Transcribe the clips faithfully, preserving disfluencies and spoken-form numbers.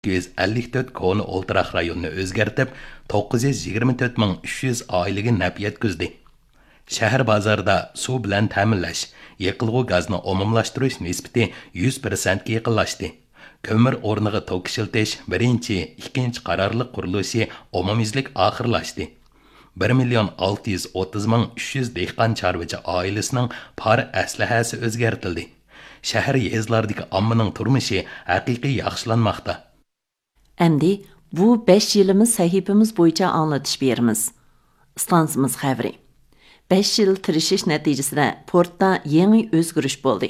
ئىككى يۈز ئەللىك تۆت كونا ئولتۇراق رايونىنى ئۆزگەرتىپ، توققۇز يۈز يىگىرمە تۆت مىڭ ئۈچ يۈز ئائىلىگە نەپ يەتكۈزدى. شەھەر بازاردا سۇ بىلەن تەمىنلەش، يېقىلغۇ گازنى ئومۇملاشتۇرۇش نىسبىتى يۈز پىرسەنتكە يېقىنلاشتى. كۆمۈر ئورنىغا توك ئىشلىتىش بىرىنچى، ئىككىنچى قارارلىق قۇرۇلۇشى ئومۇميۈزلۈك ئاخىرلاشتى. بىر مىليون ئالتە يۈز ئوتتۇز مىڭ ئۈچ يۈز دېھقان چارۋىچى ئائىلىسىنىڭ پار ئەسلىھەسى ئۆزگەرتىلدى. شەھەر، يېزىلاردىكى ئاممىنىڭ تۇرمۇشى ھەقىقىي ياخشىلانماقتا. ئەمدى بۇ بەش يىلىمىز سەھىپىمىز بويىچە ئاڭلىتىش بېرىمىز. ئىستانسىمىز خەۋىرى. بەش يىل تىرىشىش نەتىجىسىدە پورتتا يېڭى ئۆزگىرىش بولدى.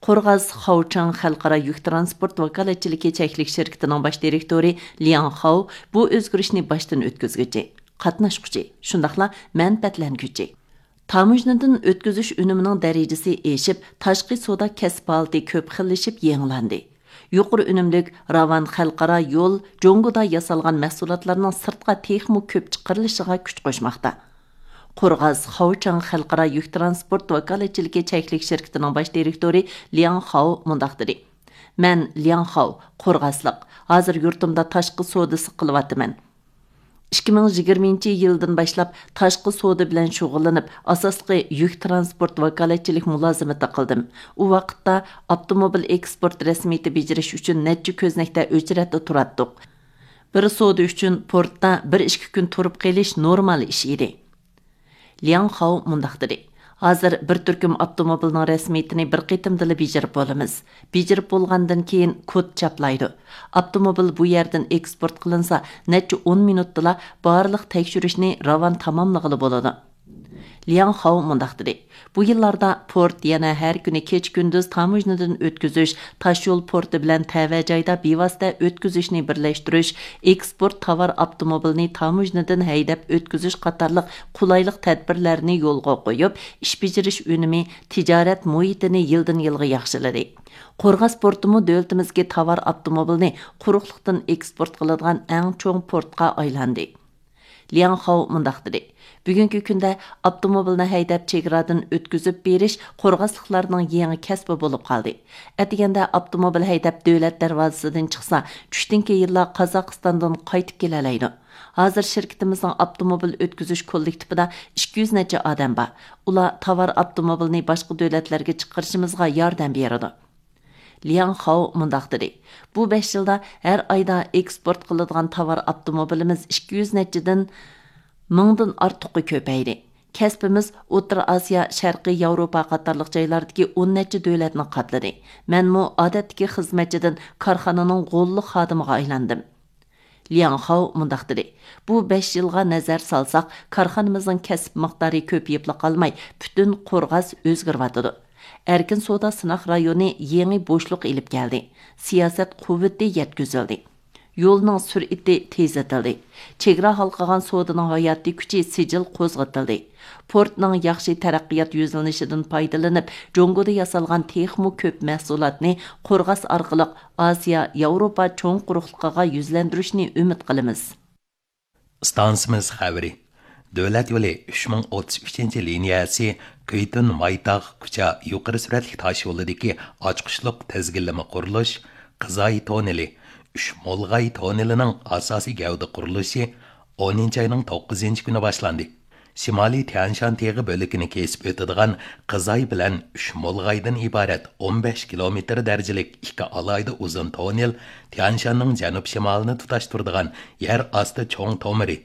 قورغاس خاۋچاڭ خەلقئارا يۈك تىرانسپورت ۋاكالەتچىلىكى چەكلىك شىركىتىنىڭ باش دىرېكتورى لياڭ خاۋ بۇ ئۆزگىرىشنى باشتىن ئۆتكۈزگۈچى، قاتناشقۇچى، شۇنداقلا مەنپەئەتلەنگۈچى. تاموژنىدىن ئۆتكۈزۈش ئۈنۈمىنىڭ دەرىجىسى ئېشىپ، تاشقى سودا كەسىپ ھالىتى كۆپ خىللىشىپ يېڭىلاندى. يۇقىرى ئۈنۈملۈك، راۋان خەلقئارا يول جۇڭگودا ياسالغان مەھسۇلاتلارنىڭ سىرتقا تېخىمۇ كۆپ چىقىرىلىشىغا كۈچ قوشماقتا. قورغاس خاۋچاڭ خەلقئارا يۈك تىرانسپورت ۋاكالەتچىلىكى چەكلىك شىركىتىنىڭ باش دىرېكتورى لياڭ خاۋ مۇنداق دېدى: مەن لياڭ خاۋ، قورغاسلىق. ھازىر يۇرتۇمدا تاشقى سودىسى قىلىۋاتىمەن. ئىككى مىڭ يىگىرمىنچى يىلدىن باشلاپ تاشقى سودا بىلەن شۇغۇللىنىپ، ئاساسلىقى يۈك تىرانسپورت ۋاكالەتچىلىك مۇلازىمىتى قىلدىم. ئۇ ۋاقىتتا ئاپتوموبىل ئېكسپورت رەسمىيىتى بېجىرىش ئۈچۈن نەچچە كۆزنەكتە ئۆچرەتتە تۇراتتۇق. بىر سودا ئۈچۈن پورتتا بىر ئىككى كۈن تۇرۇپ قېلىش نورمال ئىش ئىدى. لياڭ خاۋ مۇنداق دېدى: ھازىر بىر تۈركۈم ئاپتوموبىلنىڭ رەسمىيىتىنى بىر قېتىمدىلا بېجىرىپ بولىمىز. بېجىرىپ بولغاندىن كېيىن كود چاپلايدۇ. ئاپتوموبىل بۇ يەردىن ئېكسپورت قىلىنسا، نەچچە ئون مىنۇتتىلا بارلىق تەكشۈرۈشنى راۋان تاماملىغىلى بولىدۇ. لياڭ خاۋ مۇنداق دېدى: بۇ يىللاردا پورت يەنە ھەر كۈنى كېچە-كۈندۈز تاموژنىدىن ئۆتكۈزۈش، تاشيول پورتى بىلەن تەۋە جايدا بىۋاسىتە ئۆتكۈزۈشنى بىرلەشتۈرۈش، ئېكسپورت تاۋار ئاپتوموبىلىنى تاموژنىدىن ھەيدەپ ئۆتكۈزۈش قاتارلىق قولايلىق تەدبىرلەرنى يولغا قويۇپ، ئىش بېجىرىش ئۈنۈمى، تىجارەت مۇھىتىنى يىلدىن يىلغا ياخشىلىدى. قورغاس پورتىمۇ دۆلىتىمىزدىكى تاۋار ئاپتوموبىلىنى قۇرۇقلۇقتىن ئېكسپورت قىلىدىغان ئەڭ چوڭ پورتقا ئايلاندى. لياڭ خاۋ مۇنداق دېدى: بۈگۈنكى كۈندە ئاپتوموبىلنى ھەيدەپ چېگرادىن ئۆتكۈزۈپ بېرىش قورغاسلىقلارنىڭ يېڭى كەسپى بولۇپ قالدى. ئەتىگەندە ئاپتوموبىل ھەيدەپ دۆلەت دەرۋازىسىدىن چىقسا، چۈشتىن كېيىنلا قازاقىستاندىن قايتىپ كېلەلەيدۇ. ھازىر شىركىتىمىزنىڭ ئاپتوموبىل ئۆتكۈزۈش كوللېكتىپىدا ئىككى يۈز نەچچە ئادەم بار. ئۇلار تاۋار ئاپتوموبىلنى باشقا دۆلەتلەرگە چىقىرىشىمىزغا ياردەم بېرىدۇ. لياڭ خاۋ مۇنداق دېدى: بۇ بەش يىلدا ھەر ئايدا ئېكسپورت قىلىدىغان تاۋار ئاپتوموبىلىمىز ئىككى يۈز نەچچىدىن مىڭدىن ئارتۇققا كۆپەيدى. كەسپىمىز ئوتتۇرا ئاسىيا، شەرقىي ياۋروپا قاتارلىق جايلاردىكى ئون نەچچە دۆلەتنى قاپلىدى. مەنمۇ ئادەتتىكى خىزمەتچىدىن كارخانىنىڭ غوللۇق خادىمىغا ئايلاندىم. لياڭ خاۋ مۇنداق دېدى: بۇ بەش يىلغا نەزەر سالساق، كارخانىمىزنىڭ كەسىپ مىقدارى كۆپىيىپلا قالماي، پۈتۈن قورغاس ئۆزگىرىۋاتىدۇ. ئەركىن سودا سىناق رايونى يېڭى بوشلۇق ئېلىپ كەلدى. سىياسەت قۇۋۋىتى يەتكۈزۈلدى. يولنىڭ سۈرئىتى تېزلىتىلدى. چېگرا ھالقىغان سودىنىڭ ھاياتىي كۈچى سىجىل قوزغىتىلدى. پورتنىڭ ياخشى تەرەققىيات يۈزلىنىشىدىن پايدىلىنىپ، جۇڭگودا ياسالغان تېخىمۇ كۆپ مەھسۇلاتنى قورغاس ئارقىلىق ئاسىيا، ياۋروپا چوڭ قۇرۇقلۇقىغا يۈزلەندۈرۈشنى ئۈمىد قىلىمىز. ئىستانسىمىز خەۋىرى. دۆلەت يولى ئۈچ مىڭ ئوتتۇز ئۈچىنچى لىنىيەسى كۈيتۈن مايتاغ كۇچا يۇقىرى سۈرئەتلىك تاش يولىدىكى ئاچقۇچلۇق تىزگىنلىمە قۇرۇلۇش، قىزاي توننېلى، ئۈچ مولغاي توننېلىنىڭ ئاساسىي گەۋدە قۇرۇلۇشى ئونىنچى ئاينىڭ توققۇزىنچى كۈنى باشلاندى. شىمالىي تيەنشان تېغى بۆلىكىنى كېسىپ ئۆتىدىغان قىزاي بىلەن ئۈچ مولغايدىن ئىبارەت ئون بەش كىلومېتىر دەرىجىلىك ئىككى ئالاھىدە ئۇزۇن توننېل تيەنشاننىڭ جەنۇب شىمالىنى تۇتاشتۇرىدىغان يەر ئاستى چوڭ تومۇرى،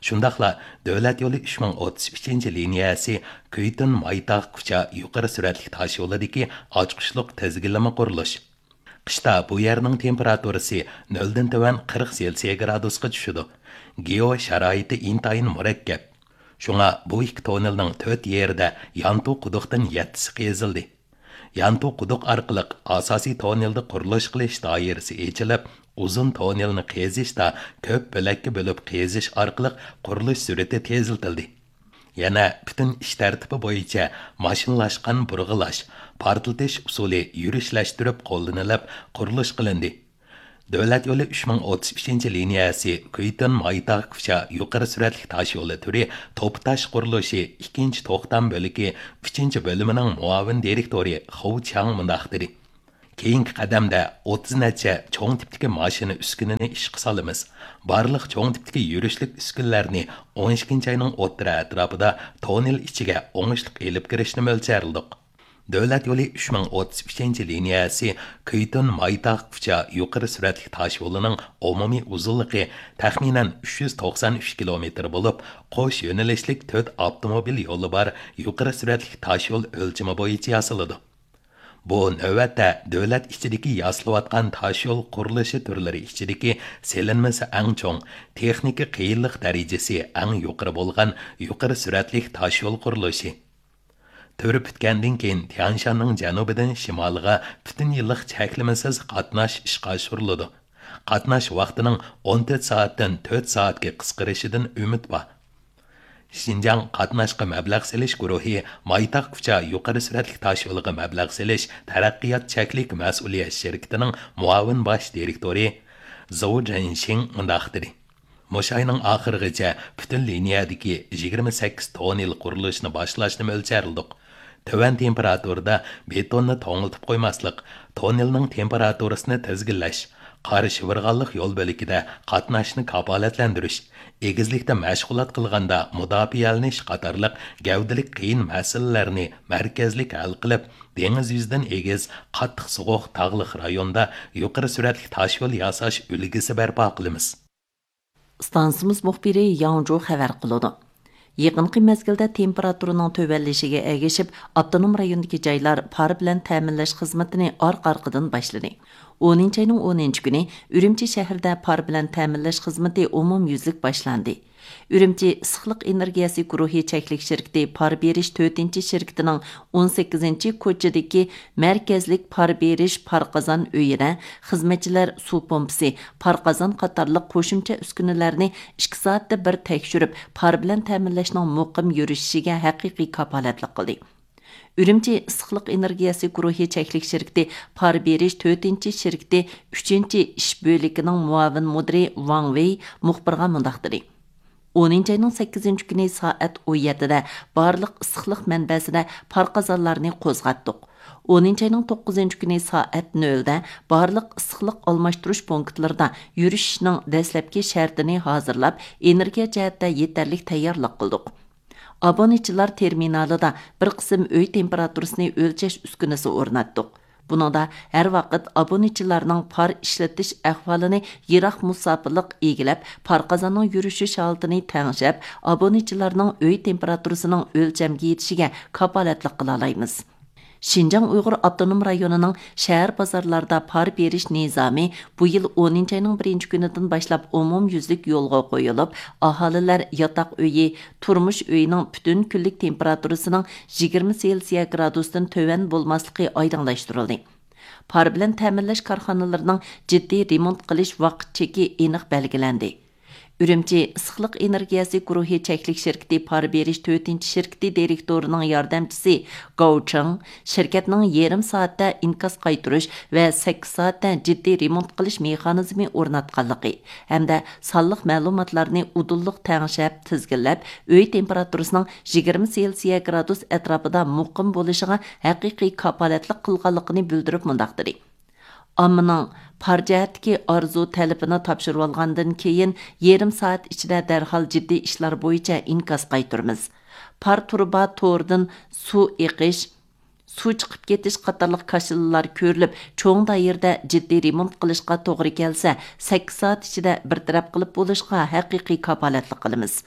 شۇنداقلا دۆلەت يولى ئۈچ مىڭ ئوتتۇز ئۈچىنچى لىنىيەسى كۈيتۈن مايتاغ كۇچا يۇقىرى سۈرئەتلىك تاش يولىدىكى ئاچقۇچلۇق تىزگىنلىمە قۇرۇلۇش. قىشتا بۇ يەرنىڭ تېمپېراتۇرىسى نۆلدىن تۆۋەن قىرىق سېلسىيە گرادۇسقا چۈشىدۇ. گېئو شارائىتى ئىنتايىن مۇرەككەپ. شۇڭا بۇ ئىككى توننېلنىڭ تۆت يېرىدە يانتۇ قۇدۇقتىن يەتتىسى قېزىلدى. يانتۇ قۇدۇق ئارقىلىق ئاساسىي توننېلدا قۇرۇلۇش قىلىش دائىرىسى ئېچىلىپ، ئۇزۇن توننېلنى قېزىشتا كۆپ بۆلەككە بۆلۈپ قېزىش ئارقىلىق قۇرۇلۇش سۈرئىتى تېزلىتىلدى. يەنە پۈتۈن ئىش تەرتىپى بويىچە ماشىنىلاشقان بۇرغىلاش، پارتلىتىش ئۇسۇلى يۈرۈشلەشتۈرۈپ قوللىنىلىپ قۇرۇلۇش قىلىندى. دۆلەت يولى ئۈچ مىڭ ئوتتۇز ئۈچىنچى لىنىيەسى كۈيتۈن مايتاغ كۇچا يۇقىرى سۈرئەتلىك تاش يولى تۈرى توپا تاش قۇرۇلۇشى ئىككىنچى توختام بۆلىكى ئۈچىنچى بۆلۈمىنىڭ مۇئاۋىن دىرېكتورى خۇ چياڭ مۇنداق دېدى: كېيىنكى قەدەمدە ئوتتۇز نەچچە چوڭ تىپتىكى ماشىنا ئۈسكۈنىنى ئىشقا سالىمىز. بارلىق چوڭ تىپتىكى يۈرۈشلۈك ئۈسكۈنىلەرنى ئون ئىككىنچى ئاينىڭ ئوتتۇرا ئەتراپىدا توننېل ئىچىگە ئوڭۇشلۇق ئېلىپ كىرىشنى مۆلچەرلىدۇق. دۆلەت يولى ئۈچ مىڭ ئوتتۇز ئۈچىنچى لىنىيەسى كۈيتۇن مايتاغ كۇچا يۇقىرى سۈرئەتلىك تاشيولىنىڭ ئومۇمىي ئۇزۇنلۇقى تەخمىنەن ئۈچ يۈز توقسان ئۈچ كىلومېتىر بولۇپ، قوش يۆنىلىشلىك تۆت ئاپتوموبىل يولى بار يۇقىرى سۈرئەتلىك تاشيول ئۆلچىمى بويىچە ياسىلىدۇ. بۇ نۆۋەتتە دۆلەت ئىچىدىكى ياسىلىۋاتقان تاشيول قۇرۇلۇشى تۈرلىرى ئىچىدىكى سېلىنمىسى ئەڭ چوڭ، تېخنىكا قىيىنلىق دەرىجىسى ئەڭ يۇقىرى بولغان يۇقىرى سۈرئەتلىك تاشيول قۇرۇلۇشى. تۈرى پۈتكەندىن كېيىن، تيەنشاننىڭ جەنۇبىدىن شىمالىغا پۈتۈن يىللىق چەكلىمىسىز قاتناش ئىشقا ئاشۇرۇلىدۇ. قاتناش ۋاقتىنىڭ ئون تۆت سائەتتىن تۆت سائەتكە قىسقىرىشىدىن ئۈمىد بار. شىنجاڭ قاتناشقا مەبلەغ سېلىش گۇرۇھى مايتاغ كۇچا يۇقىرى سۈرئەتلىك تاشيولىغا مەبلەغ سېلىش تەرەققىيات چەكلىك مەسئۇلىيەت شىركىتىنىڭ مۇئاۋىن باش دىرېكتورى زوۋ جېنشىڭ مۇنداق دېدى: مۇشۇ ئاينىڭ ئاخىرىغىچە پۈتۈن لىنىيەدىكى يىگىرمە سەككىز توننېل قۇرۇلۇشىنى باشلاشنى مۆلچەرلىدۇق. تۆۋەن تېمپېراتۇرىدا بېتوننى توڭلىتىپ قويماسلىق، توننېلنىڭ تېمپېراتۇرىسىنى تىزگىنلەش، قارا شىۋىرغانلىق يول بۆلىكىدە قاتناشنى كاپالەتلەندۈرۈش، ئېگىزلىكتە مەشغۇلات قىلغاندا مۇداپىئەلىنىش قاتارلىق گەۋدىلىك قىيىن مەسىلىلەرنى مەركەزلىك ھەل قىلىپ، دېڭىز يۈزىدىن ئېگىز، قاتتىق سوغۇق تاغلىق رايوندا يۇقىرى سۈرئەتلىك تاشيول ياساش ئۈلگىسى بەرپا قىلىمىز. ئىستانسىمىز مۇخبىرى ياڭ جۇ خەۋەر قىلىدۇ. يېقىنقى مەزگىلدە تېمپېراتۇرىنىڭ تۆۋەنلىشىگە ئەگىشىپ، ئاپتونوم رايوندىكى جايلار پار بىلەن تەمىنلەش خىزمىتىنى ئارقا-ئارقىدىن باشلىدى. ئونىنچى ئاينىڭ ئونىنچى كۈنى ئۈرۈمچى شەھىرىدە پار بىلەن تەمىنلەش خىزمىتى ئومۇميۈزلۈك باشلاندى. ئۈرۈمچى ئىسسىقلىق ئېنېرگىيەسى گۇرۇھى چەكلىك شىركىتى پار بېرىش تۆتىنچى شىركىتىنىڭ ئون سەككىزىنچى كوچىدىكى مەركەزلىك پار بېرىش پار قازان ئۆيىدە خىزمەتچىلەر سۇ پومپىسى، پار قازان قاتارلىق قوشۇمچە ئۈسكۈنىلەرنى ئىككى سائەتتە بىر تەكشۈرۈپ، پار بىلەن تەمىنلەشنىڭ مۇقىم يۈرۈشۈشىگە ھەقىقىي كاپالەتلىك قىلدى. ئۈرۈمچى ئىسسىقلىق ئېنېرگىيەسى گۇرۇھى چەكلىك شىركىتى پار بېرىش تۆتىنچى شىركىتى ئۈچىنچى ئىش بۆلىكىنىڭ مۇئاۋىن مۇدىرى ۋاڭ ۋېي مۇخبىرغا مۇنداق دېدى: ئونىنچى ئاينىڭ سەككىزىنچى كۈنى سائەت ئون يەتتىدە بارلىق ئىسسىقلىق مەنبەسىدە پار قازانلارنى قوزغاتتۇق. ئونىنچى ئاينىڭ توققۇزىنچى كۈنى سائەت نۆلدە بارلىق ئىسسىقلىق ئالماشتۇرۇش پونكىتلىرىدا يۈرۈشۈشنىڭ دەسلەپكى شەرتىنى ھازىرلاپ، ئېنېرگىيە جەھەتتە يېتەرلىك تەييارلىق قىلدۇق. ئابۇنىچىلار تېرمىنالىدا بىر قىسىم ئۆي تېمپېراتۇرىسىنى ئۆلچەش ئۈسكۈنىسى ئورناتتۇق. بۇنىڭدا ھەر ۋاقىت ئابۇنىچىلارنىڭ پار ئىشلىتىش ئەھۋالىنى يىراق مۇساپىلىق ئىگىلەپ، پار قازاننىڭ يۈرۈشۈش ھالىتىنى تەڭشەپ، ئابۇنىچىلارنىڭ ئۆي تېمپېراتۇرىسىنىڭ ئۆلچەمگە يېتىشىگە كاپالەتلىك قىلالايمىز. شىنجاڭ ئۇيغۇر ئاپتونوم رايونىنىڭ شەھەر بازارلاردا پار بېرىش نىزامى بۇ يىل ئونىنچى ئاينىڭ بىرىنچى كۈنىدىن باشلاپ ئومۇميۈزلۈك يولغا قويۇلۇپ، ئاھالىلەر ياتاق ئۆيى، تۇرمۇش ئۆيىنىڭ پۈتۈن كۈنلۈك تېمپېراتۇرىسىنىڭ يىگىرمە سېلسىيە گرادۇستىن تۆۋەن بولماسلىقى ئايدىڭلاشتۇرۇلدى. پار بىلەن تەمىنلەش كارخانىلىرىنىڭ جىددىي رېمونت قىلىش ۋاقىت چېكى ئېنىق بەلگىلەندى. ئۈرۈمچى ئىسسىقلىق ئېنېرگىيەسى گۇرۇھى چەكلىك شىركىتى پار بېرىش تۆتىنچى شىركىتى دىرېكتورىنىڭ ياردەمچىسى گاۋ چېڭ شىركەتنىڭ يېرىم سائەتتە ئىنكاس قايتۇرۇش ۋە سەككىز سائەتتە جىددىي رېمونت قىلىش مېخانىزمى ئورناتقانلىقى ھەمدە سانلىق مەلۇماتلارنى ئۇدۇللۇق تەڭشەپ، تىزگىنلەپ، ئۆي تېمپېراتۇرىسىنىڭ يىگىرمە سېلسىيە گرادۇس ئەتراپىدا مۇقىم بولۇشىغا ھەقىقىي كاپالەتلىك قىلغانلىقىنى بىلدۈرۈپ مۇنداق دېدى: ئاممىنىڭ پار جەھەتتىكى ئارزۇ تەلىپىنى تاپشۇرۇۋالغاندىن كېيىن، يېرىم سائەت ئىچىدە دەرھال جىددىي ئىشلار بويىچە ئىنكاس قايتۇرىمىز. پار تۇرۇبا تورىدىن سۇ ئېقىش، سۇ چىقىپ كېتىش قاتارلىق كاشىلىلار كۆرۈلۈپ، چوڭ دائىرىدە جىددىي رېمونت قىلىشقا توغرا كەلسە، سەككىز سائەت ئىچىدە بىر تەرەپ قىلىپ بولۇشقا ھەقىقىي كاپالەتلىك قىلىمىز.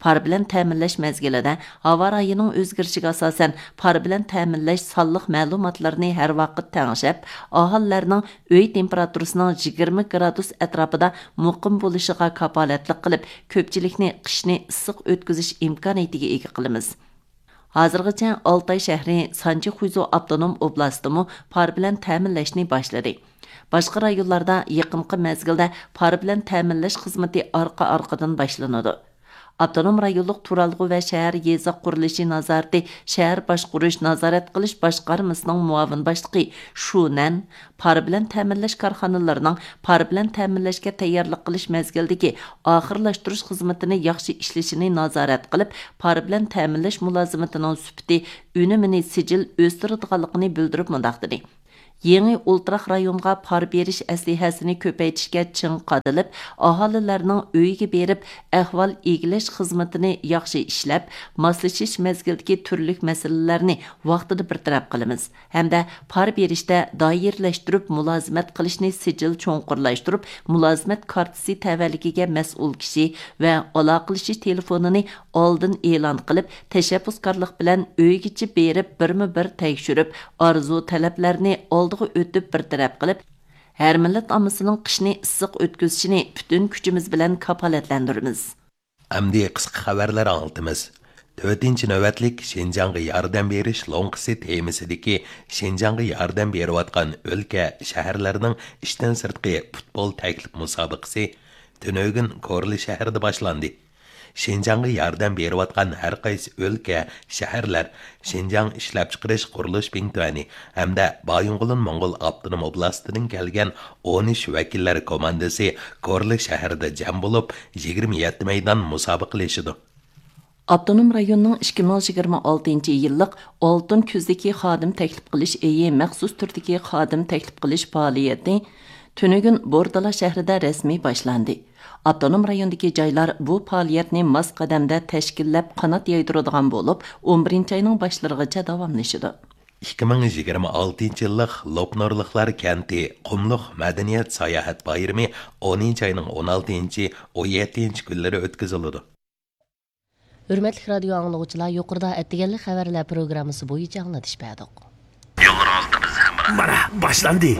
پار بىلەن تەمىنلەش مەزگىلىدە ھاۋا رايىنىڭ ئۆزگىرىشىگە ئاساسەن، پار بىلەن تەمىنلەش سانلىق مەلۇماتلىرىنى ھەر ۋاقىت تەڭشەپ، ئاھالىلەرنىڭ ئۆي تېمپېراتۇرىسىنىڭ يىگىرمە گرادۇس ئەتراپىدا مۇقىم بولۇشىغا كاپالەتلىك قىلىپ، كۆپچىلىكنى قىشنى ئىسسىق ئۆتكۈزۈش ئىمكانىيىتىگە ئىگە قىلىمىز. ھازىرغىچە ئالتاي شەھىرى، سانچىخۇيزۇ ئاپتونوم ئوبلاستىمۇ پار بىلەن تەمىنلەشنى باشلىدى. باشقا رايونلاردا يېقىنقى مەزگىلدە پار بىلەن تەمىنلەش خىزمىتى ئارقا-ئارقىدىن باشلىنىدۇ. ئاپتونوم رايونلۇق تۇرالغۇ ۋە شەھەر يېزا قۇرۇلۇشى نازارىتى شەھەر باشقۇرۇش نازارەت قىلىش باشقارمىسىنىڭ مۇئاۋىن باشلىقى شۇ نەن پار بىلەن تەمىنلەش كارخانىلىرىنىڭ پار بىلەن تەمىنلەشكە تەييارلىق قىلىش مەزگىلىدىكى ئاخىرلاشتۇرۇش خىزمىتىنى ياخشى ئىشلىشىنى نازارەت قىلىپ، پار بىلەن تەمىنلەش مۇلازىمىتىنىڭ سۈپىتى، ئۈنۈمىنى سىجىل ئۆستۈرىدىغانلىقىنى بىلدۈرۈپ مۇنداق دېدى: يېڭى ئولتۇراق رايونغا پار بېرىش ئەسلىھەسىنى كۆپەيتىشكە چىڭ قادىلىپ، ئاھالىلەرنىڭ ئۆيىگە بېرىپ ئەھۋال ئىگىلەش خىزمىتىنى ياخشى ئىشلەپ، ماسلىشىش مەزگىلىدىكى تۈرلۈك مەسىلىلەرنى ۋاقتىدا بىر تەرەپ قىلىمىز ھەمدە پار بېرىشتە دائىرىلەشتۈرۈپ مۇلازىمەت قىلىشنى سىجىل چوڭقۇرلاشتۇرۇپ، مۇلازىمەت كارتىسى تەۋەلىكىگە مەسئۇل كىشى ۋە ئالاقىلىشىش تېلېفونىنى ئالدىن ئېلان قىلىپ، تەشەببۇسكارلىق بىلەن ئۆيگىچە بېرىپ، بىرمۇ بىر تەكشۈرۈپ، ئارزۇ تەلەپلەرنى ئالدىغا ئۆتۈپ بىر تەرەپ قىلىپ، ھەر مىللەت ئاممىسىنىڭ قىشنى ئىسسىق ئۆتكۈزۈشىنى پۈتۈن كۈچىمىز بىلەن كاپالەتلەندۈرىمىز. ئەمدى قىسقا خەۋەرلەر ئاڭلىتىمىز. تۆتىنچى نۆۋەتلىك شىنجاڭغا ياردەم بېرىش لوڭقىسى تېمىسىدىكى شىنجاڭغا ياردەم بېرىۋاتقان ئۆلكە، شەھەرلەرنىڭ ئىشتىن سىرتقى پۇتبول تەكلىپ مۇسابىقىسى تۈنۈگۈن كورلا شەھىرىدە باشلاندى. شىنجاڭغا ياردەم بېرىۋاتقان ھەر قايسى ئۆلكە، شەھەرلەر، شىنجاڭ ئىشلەپچىقىرىش قۇرۇلۇش بىڭتۈەنى ھەمدە بايىنغولىن موڭغۇل ئاپتونوم ئوبلاستىدىن كەلگەن ئون ئۈچ ۋەكىللەر كوماندىسى كورلا شەھىرىدە جەم بولۇپ، يىگىرمە يەتتە مەيدان مۇسابىقىلىشىدۇ. ئاپتونوم رايوننىڭ ئىككى مىڭ يىگىرمە ئالتىنچى يىللىق ئالتۇن كۈزدىكى خادىم تەكلىپ قىلىش ئېيى مەخسۇس تۈردىكى خادىم تەكلىپ قىلىش پائالىيىتى تۈنۈگۈن بوردالا شەھىرىدە رەسمىي باشلاندى. ئاپتونوم رايوندىكى جايلار بۇ پائالىيەتنى ماس قەدەمدە تەشكىللەپ قانات يايدۇرىدىغان بولۇپ، ئون بىرىنچى ئاينىڭ باشلىرىغىچە داۋاملىشىدۇ. ئىككى مىڭ يىگىرمە ئالتىنچى يىللىق لوپنۇرلۇقلار كەنتى قۇملۇق مەدەنىيەت ساياھەت بايرىمى ئونىنچى ئاينىڭ ئون ئالتىنچى، ئون يەتتىنچى كۈنلىرى ئۆتكۈزۈلىدۇ. ھۆرمەتلىك رادىيو ئاڭلىغۇچىلار، يۇقىرىدا ئەتىگەنلىك خەۋەرلەر پروگراممىسى بويىچە ئاڭلىتىش بەردۇق. يوللىرىڭىزدا بىز ھەمراھ. مانا، باشلاندى.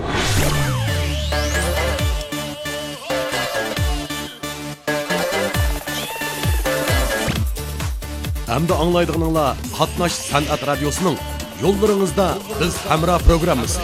ئەمدى ئاڭلايدىغىنىڭلار قاتناش سەنئەت رادىيوسىنىڭ يوللىرىڭىزدا بىز ھەمراھ پروگراممىسى.